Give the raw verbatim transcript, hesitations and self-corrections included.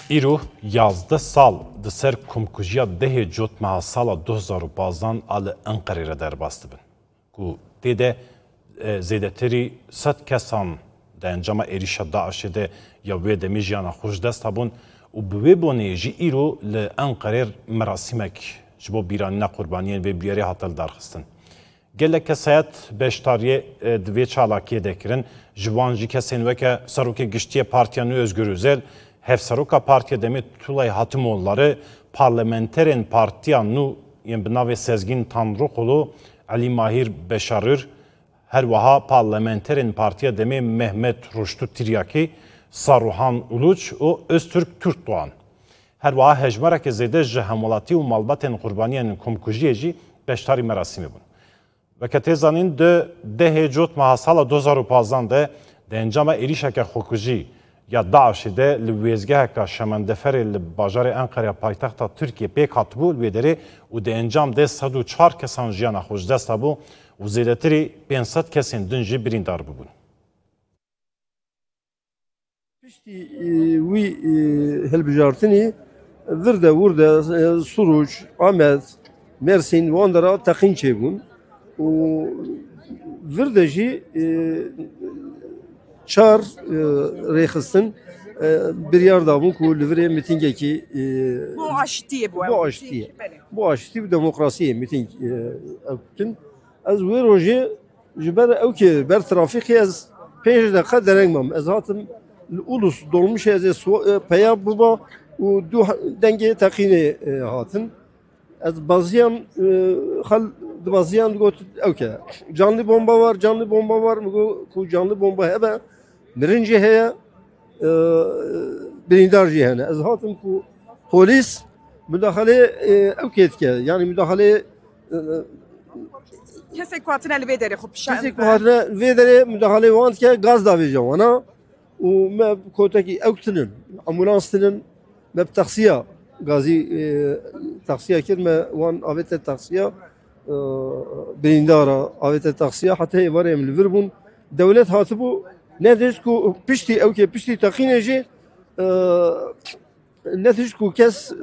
Îro yazdeh sal di ser komkujiya dehê Cotmeha sala du hezar û pazdan a li Enqerê re derbas dibin, ku tê de, e, zêdetirî sed kesan di encama êrîşa DAIŞê de ya wê demê jiyana xwe ji dest hebûn û bi wê bonê jî îro li Enqerê merasîmek ji bo bîranîna qurbaniyên vê bûyerê hate lidarxistin. Gelek kesayet beşdariyê, e, di vê çalakiyê de kirin. Ji wan jî kesên weke Serokê Giştî yê Partiya Nû Özgür Özel, Hevseroka Partiya Demê Tulay Hatimoğulları, parlamenterên Partiya Nû yên bi navê Sezgin Tanrıkulu, Elî Mahîr Beşarür, her wiha parlamenterên Partiya Demê Mehmet Ruştu Tiryakî, Saruhan Uluç û Öztürk Türkdoğan. Her wiha hejmareke zêde ji hemwelatî û malbatên qurbaniyên komkujiyê jî beşdarî merasîmê bûn. Weke tê zanîn, di dehê Cotmeha sala du hezar û pazdan de di encama êrîşeke xwekujî ya DAIŞê de li wêzgeheka Şemendeferê li bajarê Enqereya paytexta Tirkiyê pêk hatibû, li wê derê û di encam de sed û çar kesan jiyana xwe ji dest dabû û zêdetirî pênc sed kesên din jî birîndar bûbûn. Piştî, e, wî, e, hilbijartinî vir de, wir de, e, Suruç, Amed, Mersîn, wan dera teqîn çêbûn û vir de jî, e, çar, e, rêxistin, e, biryar dabûn ku li virê mîtingekî, e, Bo aştiyê bû, bo ew aştiyê. Mîting, belê. Bo aştî û demokrasiyê mîting, e, ew dikin. Ez wê rojê ji ber ewkê, ber trafîkê ez pênc deqa dereng mam. Ez hatim li Ulus dolmuşê ez ê swa-, e, peya biba û du ha-, dengê teqînê, e, hatin. Ez baziyam, e, xel dibaziyan digot ewke. Canlı bomba var, canlı bomba var. Mi got ku canlı bomba hebe, mirin jî heye, e, birîndar jî hene. Ez hatim ku polîs mudaxalê, e, ewkê dike. Yani mudaxalê, e, Kesek ku hatine li vê derê xwe pişa-, kesek ku hatine vê derê mudaxalê wan dike, gaz davêje wana. Û me kotekî ewk tinin, ambulans tinin, me bi taksiya gazî, e, taksiya kir, me wan avête taksiya, e, birîndara, avête taksiya, heta êvarê em li vir bûn. Dewlet hatibû, ne dest ku piştî ewkê, piştî teqînê jî, e, ne tişt ku kes, e,